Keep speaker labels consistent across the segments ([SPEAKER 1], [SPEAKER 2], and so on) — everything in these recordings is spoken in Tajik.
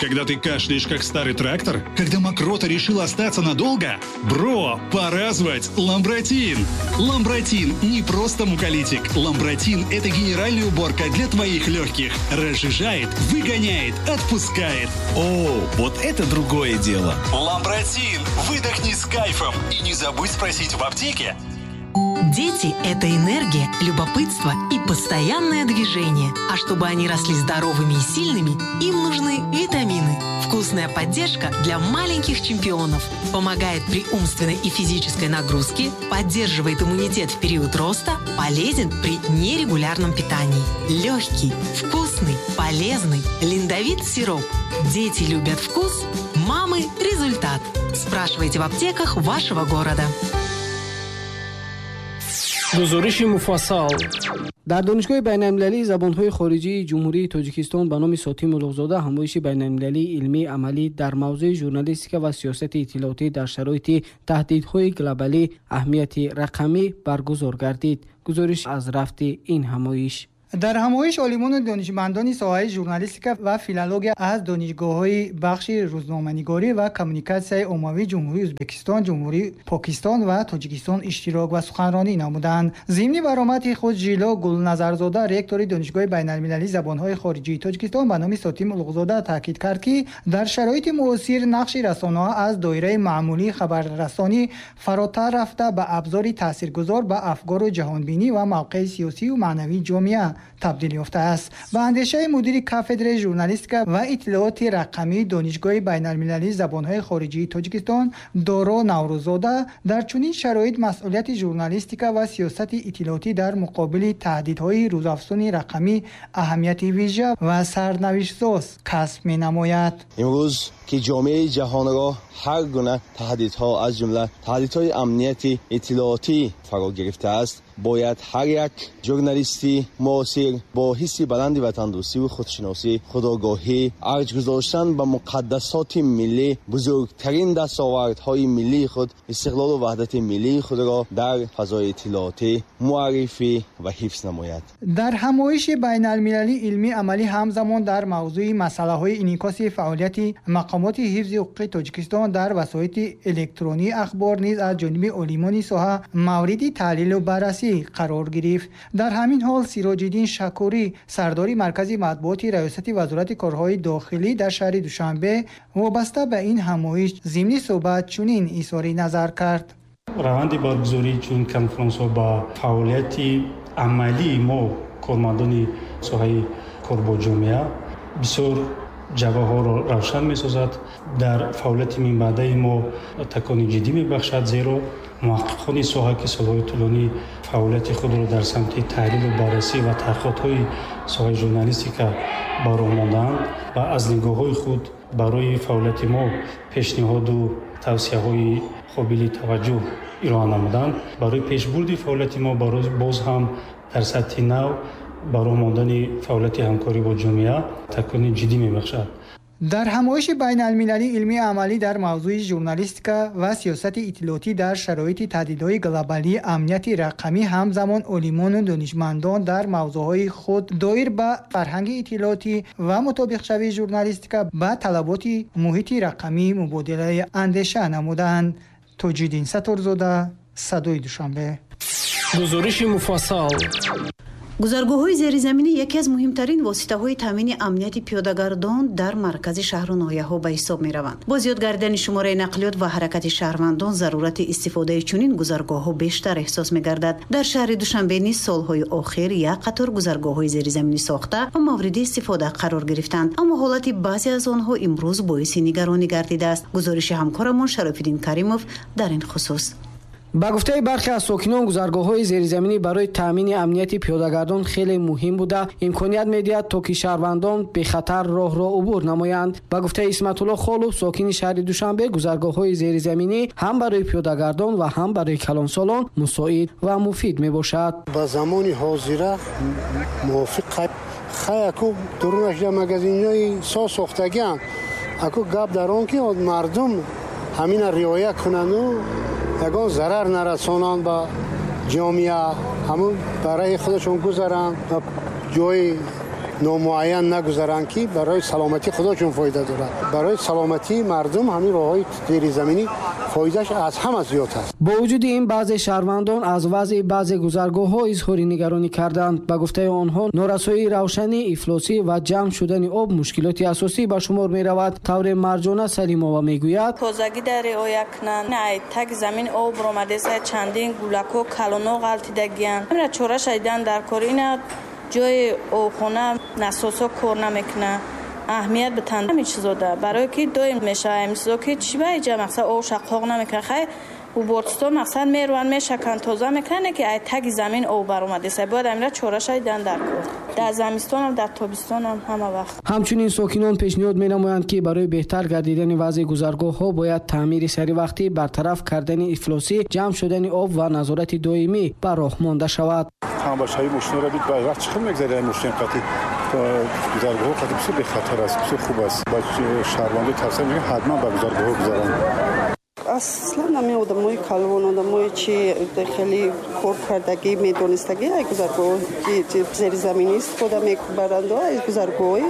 [SPEAKER 1] Когда ты кашляешь, как старый трактор? Когда мокрота решила остаться надолго? Бро, пора звать Ламбратин! Ламбратин не просто муколитик. Ламбратин – это генеральная уборка для твоих легких. Разжижает, выгоняет, отпускает.
[SPEAKER 2] О, вот это другое дело!
[SPEAKER 1] Ламбратин! Выдохни с кайфом! И не забудь спросить в аптеке.
[SPEAKER 3] Дети – это энергия, любопытство и постоянное движение. А чтобы они росли здоровыми и сильными, им нужны витамины. Вкусная поддержка для маленьких чемпионов. Помогает при умственной и физической нагрузке, поддерживает иммунитет в период роста, полезен при нерегулярном питании. Легкий, вкусный, полезный. Линдовит сироп. Дети любят вкус, мамы – результат. Спрашивайте в аптеках вашего города.
[SPEAKER 4] Гузориши муфассал.
[SPEAKER 5] Дар Донишгоҳи байналмилалии забонҳои хориҷии Ҷумҳурии Тоҷикистон ба номи Сотим Улуғзода ҳамоиши байналмилалии илмии амалӣ дар мавзӯи журналистика ва сиёсати иттилоотӣ дар шароити таҳдидҳои глобалӣ, аҳамияти рақамӣ баргузор гардид. Гузориш аз рафти ин ҳамоиш.
[SPEAKER 6] Дар ҳамоиш олимону донишмандони соҳаи журналистика ва филология аз донишгоҳҳои бахши рӯзноманигорӣ ва коммуникатсияи оммавии Ҷумҳурии Ӯзбекистон, Ҷумҳурии Покистон ва Тоҷикистон иштирок ва суханронӣ намуданд. Зимни баромади худ Жило Гулназарзода, ректори Донишгоҳи байналмилалии забонҳои хориҷии Тоҷикистон ба номи Сотим Улуғзода, таъкид кард, ки дар шароити муосир нақши расонаҳо аз доираи маъмулии хабаррасонӣ фаротар рафта, ба абзори таъсиргузор ба афкору ҷаҳонбинӣ ва мавқеи сиёсию маънавии ҷомеа табдил ёфтааст. Ба андешаи мудири кафедраи журналистика ва иттилооти рақамии Донишгоҳи байналмилалии забонҳои хориҷии Тоҷикистон Доро Наврӯзода, дар чунин шароит масъулияти журналистика ва сиёсати иттилоотӣ дар муқобили таҳдидҳои рӯзафзуни рақамӣ аҳамияти вижа ва сарнавиштсоз касб менамояд.
[SPEAKER 7] Имрӯз ки ҷомеаи ҷаҳонро ҳар гуна таҳдидҳо, аз ҷумла таҳдидҳои амнияти иттилоотӣ фаро гирифтааст, бояд ҳар як журналисти муосир бо ҳисси баланди ватандӯстиву худшиносӣ, худогоҳӣ, арҷ гузоштан ба муқаддасоти миллӣ, бузургтарин дастовардҳои миллии худ, истиқлолу ваҳдати миллии худро дар фазои иттилоотӣ муаррифӣ ва ҳифз намояд.
[SPEAKER 6] Дар ҳамоиши байналмилалии илмии амалӣ ҳамзамон дар мавзӯи масъалаҳои инъикоси фаъолияти мақомоти ҳифзи ҳуқуқи Тоҷикистон дар васоити электронии ахбор низ аз ҷониби олимони соҳа мавриди таҳлилу баррасӣ қарор гирифт. Дар ҳамин ҳол Сироҷиддин Шакурӣ, сардори маркази матбуоти Раёсати Вазорати корҳои дохилӣ дар шаҳри Душанбе, вобаста ба ин ҳамоиш зимни суҳбат чунин изҳори назар кард.
[SPEAKER 8] Раванди баргузории чунин конфронсҳо ба фаъолияти амалии мо, кормандони соҳаи кор бо ҷомеа, бисёр ҷавҳаҳоро равшан месозад, дар фаъолияти минбаъдаи мо такони ҷиддӣ мебахшад, зеро муҳаққиқони соҳа, ки солҳои тӯлонӣ фаъолияти худро дар самти таҳлилу баррасӣ ва таҳқиқотҳои соҳаи журналистика ба роҳ мондаанд ва аз нигоҳҳои худ барои фаъолияти мо пешниҳоду тавсияҳои қобили таваҷҷӯҳ ироа намуданд, барои пешбурди фаъолияти мо, барои боз ҳам дар сатҳи нав ба роҳ мондани фаъолияти ҳамкорӣ бо ҷомеа такони ҷиддӣ мебахшад.
[SPEAKER 6] Дар ҳамоиши байналмилалии илмии амалӣ дар мавзӯи журналистика ва сиёсати иттилоотӣ дар шароити таҳдидҳои глобалии амнияти рақамӣ ҳамзамон олимону донишмандон дар мавзӯъҳои худ доир ба фарҳанги иттилоотӣ ва мутобиқшавии журналистика ба талаботи муҳити рақамӣ мубодилаи андеша намуданд. Тоҷиддин Сатторзода, Садои Душанбе.
[SPEAKER 4] Гузориши муфассал.
[SPEAKER 9] Гузаргоҳҳои зеризаминӣ яке аз муҳимтарин воситаҳои таъмини амнияти пиёдагардон дар маркази шаҳру ноҳияҳо ба ҳисоб мераванд. Бо зиёд гардидани шумораи нақлиёт ва ҳаракати шаҳрвандон зарурати истифодаи чунин гузаргоҳҳо бештар эҳсос мегардад. Дар шаҳри Душанбе низ солҳои охир як қатор гузаргоҳҳои зеризаминӣ сохта ва мавриди истифода қарор гирифтанд, аммо ҳолати баъзе аз онҳо имрӯз боиси нигаронӣ гардидааст. Гузориши ҳамкорамон Шарофиддин Каримов дар ин хусус.
[SPEAKER 5] Ба гуфтаи бархе аз сокинон, гузаргоҳҳои зеризаминӣ барои таъмини амнияти пиёдагардон хеле муҳим буда, имконият медиҳад, то ки шаҳрвандон бехатар роҳро убур намоянд. Ба гуфтаи Исматулло Холов, сокини шаҳри Душанбе, гузаргоҳҳои зеризаминӣ ҳам барои пиёдагардон ва ҳам барои калонсолон мусоид ва муфид мебошад.
[SPEAKER 10] Ба замони ҳозира мувофиқ хай аку дурунаш магазинҳои соз сохтагианд. Аку гап дар он ки мардум ҳамина риоя кунанду ягон зарар нарасонанд ба ҷомеа, ҳамун барои худашон гузаранд ва ҷои номуайян нагузаранд, ки барои саломатии худошон фоида дорад. Барои саломатии мардум ҳамин роҳҳои зеризаминӣ фоидааш аз ҳама зиёд аст.
[SPEAKER 5] Бо вуҷуди ин, баъзе шаҳрвандон аз вазъи баъзе гузаргоҳҳо изҳори нигаронӣ карданд. Ба гуфтаи онҳо, норасоии равшанӣ, ифлосӣ ва ҷамъ шудани об мушкилоти асосӣ ба шумор меравад. Тавре Марҷона Салимова мегӯяд:
[SPEAKER 11] тозагӣ дар риоя кунанд, таги замин об ромадеса, чандин гулакҳо калоно ғалтидагиянд. Ҳамира чора шадидан дар кор. Ина ҷои обхона насосҳо кор намекунад. Аҳамият битанд ҳамин чизода, барое ки доим мешавад ҳамин чизо, ки чӣ ба иҷа мақсад об шақоқ намекунад. Хай, убортисто мақсад мераванд, мешаканд, тоза мекунанд, ки ай таги замин об баромадеса. Бояд ҳамира чора шадидан дар кор, дар замистонам, дар тобистонам, ҳама вақт.
[SPEAKER 5] Ҳамчунин сокинон пешниҳод менамоянд, ки барои беҳтар гардидани вазъи гузаргоҳҳо бояд таъмири саривақтӣ, бартараф кардани ифлосӣ, ҷамъ шудани об ва назорати доимӣ ба роҳ монда шавад.
[SPEAKER 12] Тамбашавии мошинро бит ба вақт чӣ хел мегзарад мошин қати гузаргоҳҳо қати бисёр бехатар аст, бисёр хуб аст. Ба шаҳрвандо тавсия мекунем, ҳатман ба гузаргоҳҳо гузаранд.
[SPEAKER 13] Аслан ҳамин одамои калон, одамое чи хеле кор кардагӣ, медонистагӣ, ай гузаргоҳи зеризаминӣ истифода мебаранд, ай гузаргоҳҳои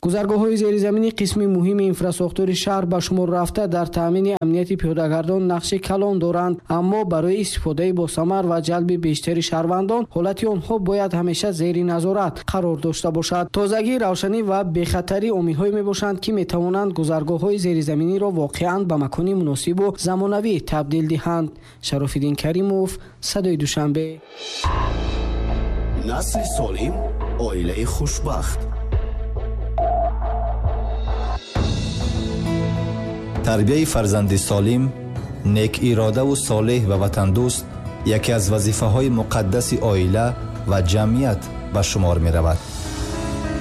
[SPEAKER 5] Гузаргоҳҳои зеризаминӣ қисми муҳими инфрасохтори шаҳр ба шумор рафта, дар таъмини амнияти пиёдагардон нақши калон доранд. Аммо барои истифодаи босамар ва ҷалби бештари шаҳрвандон ҳолати онҳо бояд ҳамеша зери назорат қарор дошта бошад. Тозагӣ, равшанӣ ва бехатарӣ омилҳое мебошанд, ки метавонанд гузаргоҳҳои зеризаминиро воқеан ба макони муносибу замонавӣ табдил диҳанд. Шарофиддин Каримов, Садои Душанбе.
[SPEAKER 2] Насли солим, оилаи хушбахт.
[SPEAKER 14] Тарбияи фарзанди солим, некиродаву солеҳ ва ватандӯст яке аз вазифаҳои муқаддаси оила ва ҷамъият ба шумор меравад.